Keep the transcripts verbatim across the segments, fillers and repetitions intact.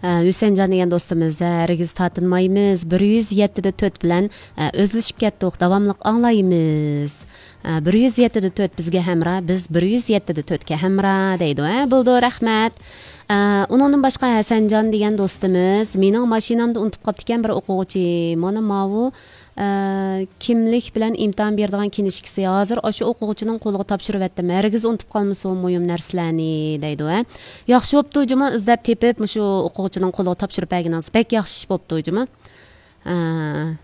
ھە، ھۈسەنجان دېگەن دوستىمىز، ھە، ھەرگىز تارتىنمايمىز، بىر يۈز يەتتە دە تۆت بىلەن، ھە، ئۆزلىشىپ كەتتۇق، داۋاملىق ئاڭلايمىز. ھە، بىر يۈز يەتتە دە تۆت بىزگە ھەمراھ، بىز بىر يۈز يەتتە دە تۆتكە ھەمراھ دەيدۇ. ھە، بولىدۇ، رەھمەت. ھە، ئۇنىڭدىن باشقا ھەسەنجان دېگەن دوستىمىز، مېنىڭ ماشىنامدا ئۇنتۇپ قاپتىكەن بىر ئوقۇغۇچى. مانا ماۋۇ، ئە، كىملىك بىلەن ئىمتىھان بېرىدىغان كىنىشكىسى. ھازىر ئاشۇ ئوقۇغۇچىنىڭ قولىغا تاپشۇرۇۋەتتىم. ھەرگىز ئۇنتۇپ قالمىسۇن مۇھىم نەرسىلەرنى، دەيدۇ، ھە. ياخشى بوپتۇ جۇمۇ، ئىزدەپ تېپىپ، مۇشۇ ئوقۇغۇچىنىڭ قولىغا تاپشۇرۇپ بەرگىنىڭىز بەك ياخشى ئىش بوپتۇ جۇمۇ. ئە،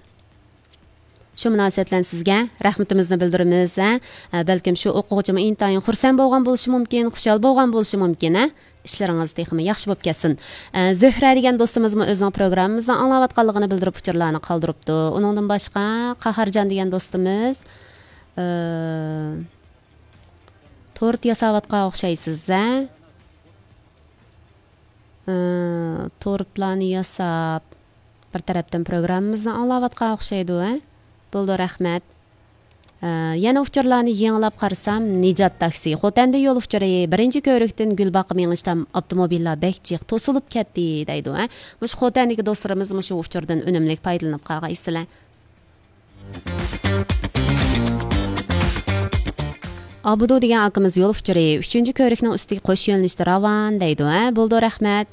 شۇ مۇناسىۋەت بىلەن سىزگە رەھمىتىمىزنى بىلدۈرىمىز، ھە. ئە، بەلكىم شۇ ئوقۇغۇچىمۇ ئىنتايىن خۇرسەن بولغان بولۇشى مۇمكىن، خۇشال بولغان بولۇشى مۇمكىن، ھە. ئىشلىرىڭىز تېخىمۇ ياخشى بولۇپ كەتسۇن. ئە، زۆھرە دېگەن دوستىمىزمۇ ئۆزىنىڭ پروگراممىمىزنى ئاڭلاۋاتقانلىقىنى بىلدۈرۈپ ئۇچۇرلارنى قالدۇرۇپتۇ. ئۇنىڭدىن باشقا قاھارجان دېگەن دوستىمىز، ئە، تورت ياساۋاتقان ئوخشايسىز، ھە؟ ئە، تورتلارنى ياساپ، بىر تەرەپتىن پروگراممىمىزنى ئاڭلاۋاتقان ئوخشايدۇ، ھە؟ بولىدۇ، رەھمەت. ئە، يەنە ئۇچۇرلارنى يېڭىلاپ قارىسام، نىجات تاكسى. خوتەندە يول ئۇچۇرى، بىرىنچى كۆۋرۈكتىن گۈلباغقا مېڭىشتام، ئاپتوموبىللار بەك جىق توسۇلۇپ كەتتى، دەيدۇ، ھە؟ مۇشۇ خوتەندىكى دوستلىرىمىز مۇشۇ ئۇچۇردىن ئۈنۈملۈك پايدىلىنىپ قالغايسىلەر. ئابدۇ دېگەن ئاكىمىز يول ئۇچۇرى، ئۈچىنچى كۆۋرۈكنىڭ ئۈستىگە قوش يۆنىلىشتە راۋان، دەيدۇ، ھە؟ بولىدۇ، رەھمەت.